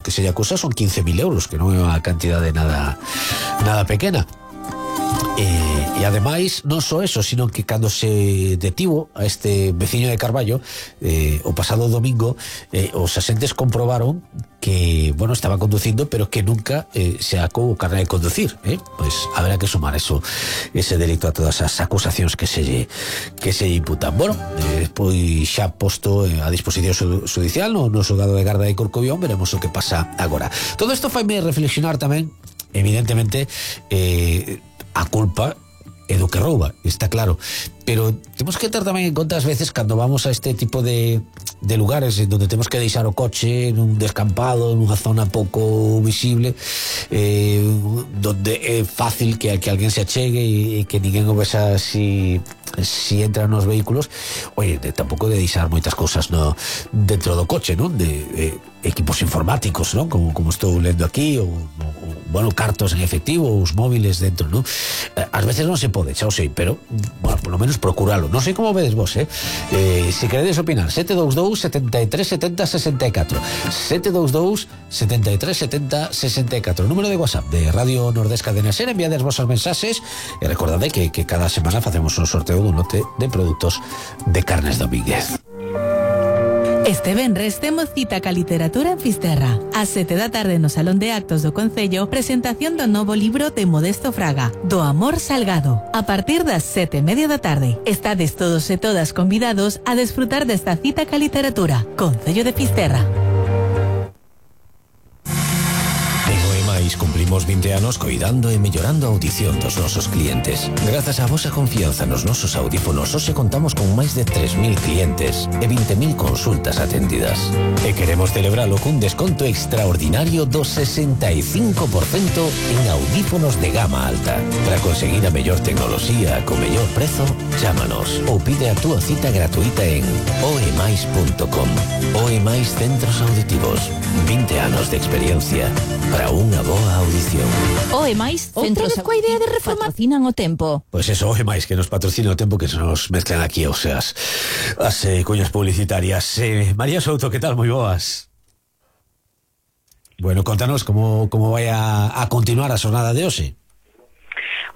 que se lle acusa son 15.000 euros, que non é unha cantidade nada pequena. E ademais non só eso, sino que cando se detivo a este veciño de Carballo o pasado domingo, os asentes comprobaron que, bueno, estaba conducindo, pero que nunca se sacou o carné de conducir, pois haberá que sumar ese delito a todas as acusacións que se lle imputan. Bueno, pois xa posto a disposición judicial no xulgado de garda de Corcobión, veremos o que pasa agora. Todo isto faime reflexionar tamén, evidentemente, a culpa é do que rouba, está claro, pero temos que ter tamén en conta as veces cando vamos a este tipo de lugares donde temos que deixar o coche nun descampado, nunha zona pouco visible, donde é fácil que alguén se achegue e que ninguén o vexa si entran nos vehículos. Oye, tampouco de deixar moitas cousas dentro do coche, non? De equipos informáticos, non? Como estou lendo aquí, ou bueno, cartos en efectivo, os móviles dentro, non? Ás veces non se pode, xa o sei, pero bueno, por lo menos procuralo. Non sei como vedes vos, se queredes opinar, 722 73 70 64 722 73 70 64, número de WhatsApp de Radio Nordés Cadena Ser. Enviades vosas mensaxes e recordade que cada semana facemos un sorteo dun lote de produtos de Carnes Domínguez. Este venres temos cita ca literatura en Fisterra. Ás 7 da tarde no Salón de Actos do Concello, presentación do novo libro de Modesto Fraga, Do Amor Salgado. A partir das 7:30 da tarde, estades todos e todas convidados a desfrutar desta cita ca literatura. Concello de Fisterra. Cumplimos 20 anos coidando e mellorando a audición dos nosos clientes. Grazas á vosa confianza nos nosos audífonos, hoxe contamos con máis de 3.000 clientes e 20.000 consultas atendidas. E queremos celebralo cun desconto extraordinario do 65% en audífonos de gama alta. Para conseguir a mellor tecnoloxía co mellor prezo, chámanos ou pide a túa cita gratuita en oemais.com. Oemais Centros Auditivos. 20 anos de experiencia para unha boa audición. Oemais Centros Auditivos de reforma patrocinan o tempo. Pois eso, Oemais, que nos patrocina o tempo, que se nos mezclan aquí, o sea, as cuñas publicitarias. María Souto, que tal? Moi boas. Bueno, contanos como vai a continuar a xornada de hoxe.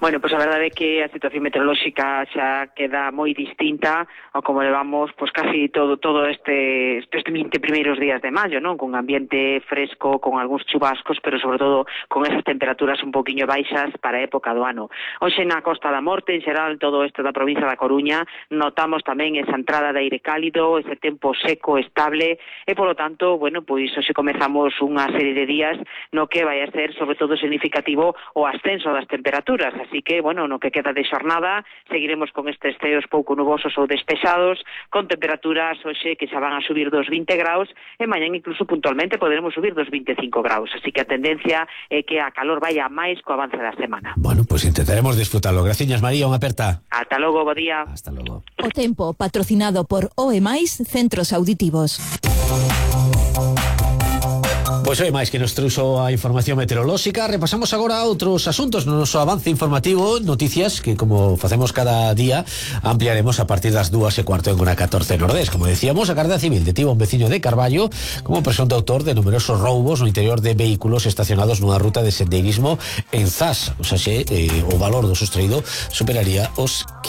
Bueno, pois a verdade é que a situación meteorolóxica xa queda moi distinta ao como levamos pois casi todo estes 20 primeiros días de maio, non? Con ambiente fresco, con algúns chubascos, pero sobre todo con esas temperaturas un poquinho baixas para a época do ano. Hoxe na Costa da Morte, en xeral, todo isto da provincia da Coruña, notamos tamén esa entrada de aire cálido, ese tempo seco, estable, e polo tanto, bueno, pois hoxe comezamos unha serie de días no que vai a ser sobre todo significativo o ascenso das temperaturas. Así que, bueno, no que queda de xornada, seguiremos con estes ceos pouco nubosos ou despexados, con temperaturas hoxe que xa van a subir dos 20 graus, e mañan incluso puntualmente poderemos subir dos 25 graus. Así que a tendencia é que a calor vaya máis co avance da semana. Bueno, pues intentaremos disfrutarlo. Graciñas, María, unha aperta. Ata logo, bo día. Hasta logo. O tempo patrocinado por Oemais Centros Auditivos. Pois hoy máis que nos trouxo a información meteorolóxica. Repasamos agora outros asuntos no noso avance informativo, noticias que, como facemos cada día, ampliaremos a partir das 2:15 en Hora 14 Nordés. Como decíamos, a Garda Civil detivo un veciño de Carballo como presunto autor de numerosos roubos no interior de vehículos estacionados nunha ruta de sendeirismo en Zas. O sea, o valor do sustraído superaría os 15